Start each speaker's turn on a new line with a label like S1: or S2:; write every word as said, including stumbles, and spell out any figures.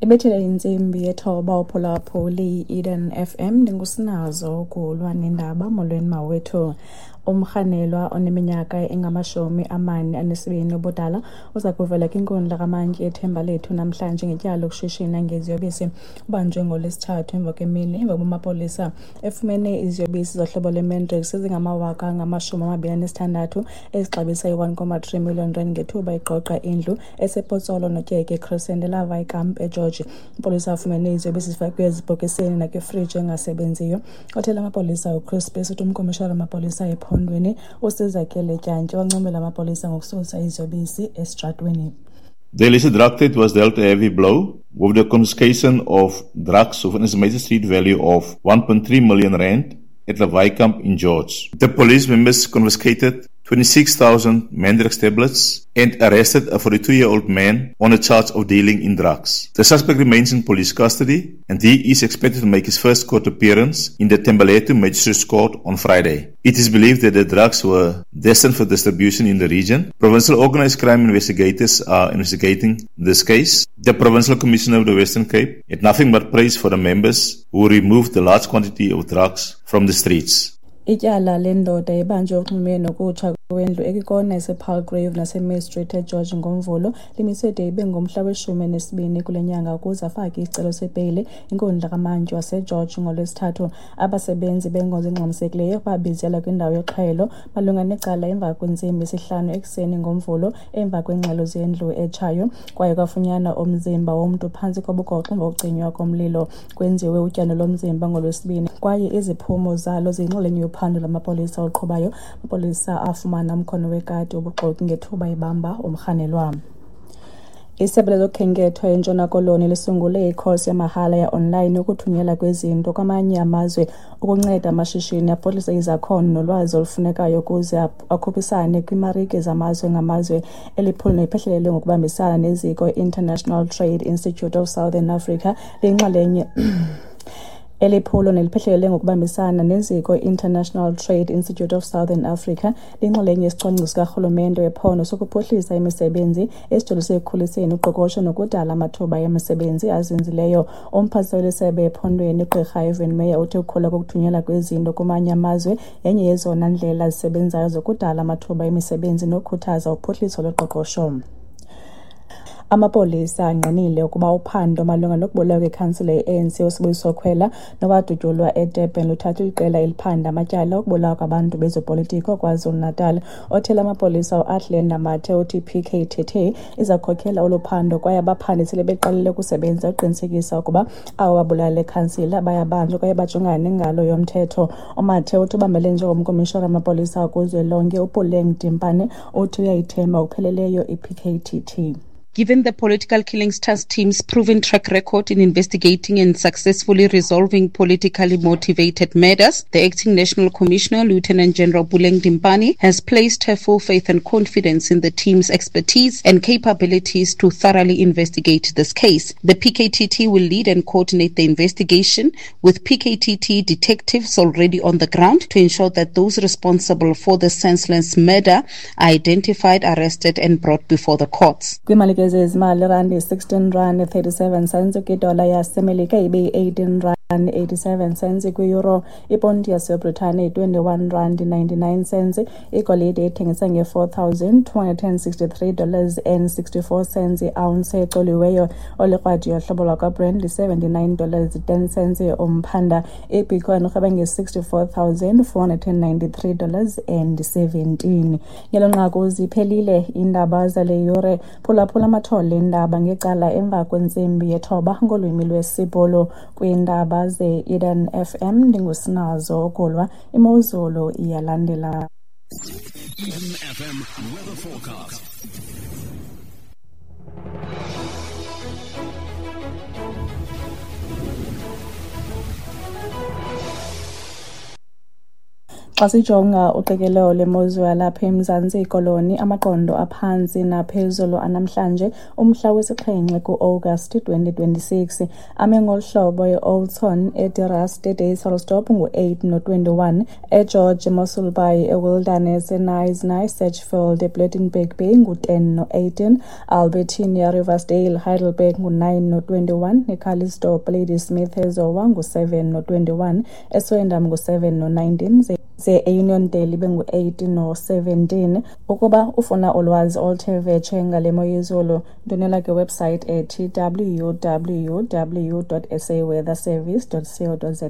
S1: Ibethile intsimbi yethoba uphulaphuli Eden F M ndingusinazo ukulwa nendaba. Molweni mawethu. Umrhanelwa oneminyaka engamashumi amane anesibini ubudala uza kuvela kwinkundla kamantyi eThembalethu namhlanje ngetyala lokushishina ngeziyobisi. Ubanjwe ngoLwesithathu emva kwemini emva kokuba amapolisa efumene iziyobisi zohlobo lweMandrax ezingamawaka angamashumi amabini anesithandathu ezixabisa i-one comma three million rand ngethuba igqogqa indlu esePotsolo Notyeke Crescent eLawaaikamp eGeorge. Amapolisa afumene iziyobisi zifakwe ezibhokisini nakwifriji engasebenziyo. Othela amapolisa uChris Bese uthi umkomishara wamapolisa ephondweni uSizakele Dyantyi wancomela amapolisa ngokususa iziyobisi esitratweni.
S2: The illicit drug trade was dealt a heavy blow with the confiscation of drugs with an estimated street value of one point three million rand at Lawaaikamp in George. The police members confiscated twenty-six thousand Mandrax tablets and arrested a forty-two-year-old man on a charge of dealing in drugs. The suspect remains in police custody and he is expected to make his first court appearance in the Thembalethu Magistrates Court on Friday. It is believed that the drugs were destined for distribution in the region. Provincial organized crime investigators are investigating this case. The Provincial Commissioner of the Western Cape had nothing but praise for the members who removed the large quantity of drugs from the streets.
S1: Ityala lendoda ebanjwe uxhumene nokutsha kwendlu ekwikona yasePalgrave naseMain Street eGeorge ngoMvulo limiswe de ibe ngomhla weshumi nesibini kule nyanga ukuze afake isicelo sebheyile inkundla kamantyi waseGeorge ngoLwesithathu. Abasebenzi benkonzo engxamisekileyo babizela kwindawo yoxhwayelo malunga necala emva kwentsimbi yesihlanu ekuseni ngoMvulo emva kweengxelo zendlu etshayo. Kwaye kwafunyanwa umzimba womntu phantsi kobugoxo emva kokucinywa komlilo. Kwenziwe utyando lomzimba ngoLwesibini kwaye iziphumo zalo ziyinxalenye yophando lwamapolisa oluqhubayo. Amapolisa afumana umkhono wekati wobuxoki ngethuba ibamba umrhanelwa. Isebe lezokhenketho eNtshona Koloni lisungule ikhosi yamahala ya-online yokuthunyelwa kwezinto kwamanye amazwe ukunceda amashishini aphuhlise izakhono nolwazi olufunekayo ukuze akhuphisane kwiimarike zamazwe ngamazwe. Eli phulo liphehlelelwe ngokubambisana neziko i-International Trade Institute of Southern Africa liyinxalenye Eli phulo neliphehlelele ngokubambisana neziko i-International Trade Institute of Southern Africa liyinxalenye yesicwangciso sikarhulumente wephondo sokuphuhlisa imisebenzi esijolise ekukhuliseni uqoqosho nokudala amathuba emisebenzi azinzileyo. Umphathiswa wesebe ephondweni uGqirha Ivan Meyer uthi ukukhula kokuthunyelwa kwezinto kumanye amazwe yenye yezona ndlela zisebenzayo zokudala amathuba emisebenzi nokukhuthaza uphuhliso loqoqosho. Amapolisa angqinile ukuba uphando malunga nokubulawa kwekhansila ye-A N C uSibusiso Khwela nowadutyulwa eDurban luthathwe liqela eliphanda amatyala okubulawa kwabantu bezopolitiko KwaZulu-Natal. Othela amapolisa uAthlenda Mathe uthi P K T T iza kukhokela olu phando kwaye abaphandi sele beqalile ukusebenza ukuqinisekisa ukuba abo babulala le khansila bayabanjwa kwaye bajongane nengalo yomthetho. UMathe uthi ubambele njengomkomishara wamapolisa kuzwelonke uPuleng Dimpane uthi uyayithemba ngokupheleleyo i-P K T T.
S3: Given the political killings task team's proven track record in investigating and successfully resolving politically motivated murders, the acting National Commissioner, Lieutenant General Puleng Dimpane, has placed her full faith and confidence in the team's expertise and capabilities to thoroughly investigate this case. The P K T T will lead and coordinate the investigation with P K T T detectives already on the ground to ensure that those responsible for the senseless murder are identified, arrested, and brought before the courts.
S1: Zezimali rand sixteen rand thirty-seven cents kwidola yaseMelika ibe eighteen rand eighty-seven cents kwi-euro. Iponti yaseBritane twenty-one rand ninety-nine cents. Igolide ithengisa nge-four thousand two hundred and sixty-three dollars and sixty-four cents i-ounce ecoliweyo. Olikrwadi yohlobo lwakwaBrent seventy-nine dollars ten cents umphanda. IBitcoin irhweba nge-sixty-four thousand four hundred and ninety-three dollars and seventeen. Ngelo nqaku ziphelile iindaba zale yure. Phulaphula amathole eendaba ngecala emva kwentsimbi yethoba ngolwimi lwesiBhulu. Kwiindaba ze-Eden F M ndingusinazo Okulwa. Imozulu iyalandela.
S4: Eden F M weather forecast.
S1: Xa sijonga uqikelelo lwemozulu yalapha eMzantsi Koloni, amaqondo aphantsi naphezulu anamhlanje umhla wesixhenxe ku-Agasti twenty twenty-six ame ngolu hlobo: e-Oudtshoorn, eDe Rust, eDysselsdorp ngu-eight no-twenty-one, eGeorge, eMossel Bay, eWilderness, eKnysna, eSedgefield, ePlettenberg Bay ngu-ten no-eighteen, Albertina, Riversdale, Heidelberg ngu-nine no-twenty-one, eCalitzdorp, Ladysmith, eZowa ngu-seven no-twenty-one, eSwellendam ngu-seven no-nineteen, ze eUniondale ibe ngu-eight no-seventeen. Ukuba ufuna ulwazi oluthe vetshe ngale mo yezulu, ndwendwela kwiwebsite ethi W W W dot S A weather service dot co dot za.